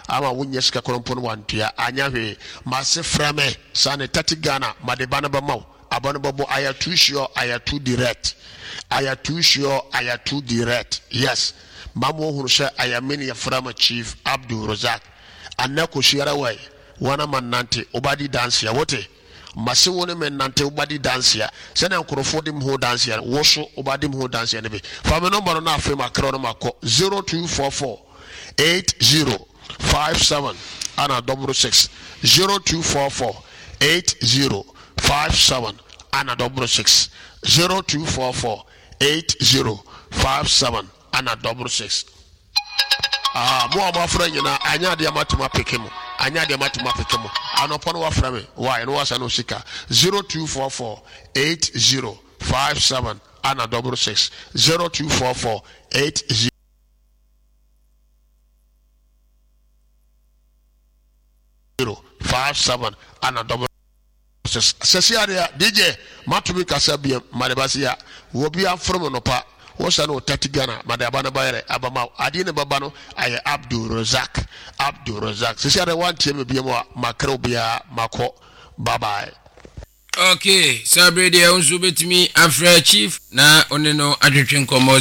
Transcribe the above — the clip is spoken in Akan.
ama wonnya sika korɔ mpo no wantua anyɛ hwee. Mase frɛ me sane 30 Ghana made ba no bɛma wo. Aba no bɛbɔ I am too sure I am too direct I am too sure I am too direct yes ma mo hunu sɛ I am me ne yɛfrɛ me Chief Abdul Razak Anɛ kɔsiara wai wana ma nante wobadi danseɛ wote Mase wo ne me nnante wobadi danseɛ sɛnea nkurɔfoɔ di me ho danseɛ no wo so wobadi me ho danseɛ no bi fa me nɔmba no na afei makrɛ no makɔ 0244 80 57 ana double 6 0244 80 57 ana double 6 0244 80 57 ana double 6 Ah, mo a moafrɛ nyinaa, anyɛ adeɛ matumi apeke mo. Anyɛ adeɛ matumi apeke mo. Anɔpa no wafrɛ me. Why? No wasa no sika. 0244 80 57 ana double 6 0244 80 57 ana double 6. Sɛsi adeɛ DJ matumi kasa biam made basi ya. Wɔ bi afrɛ mo nɔpa. Wosa no 30 Ghana made aba no bayɛrɛ aba ma adeɛ ne baba no ayɛ Abdul Razak Abdul Razak. Sɛsi adeɛ wantie me biam a makra obiara makɔ. Bye bye. Okay, saa bere deɛ wo nso wobɛtumi afrɛ chief na wo ne no atwetwe nkɔmmɔ.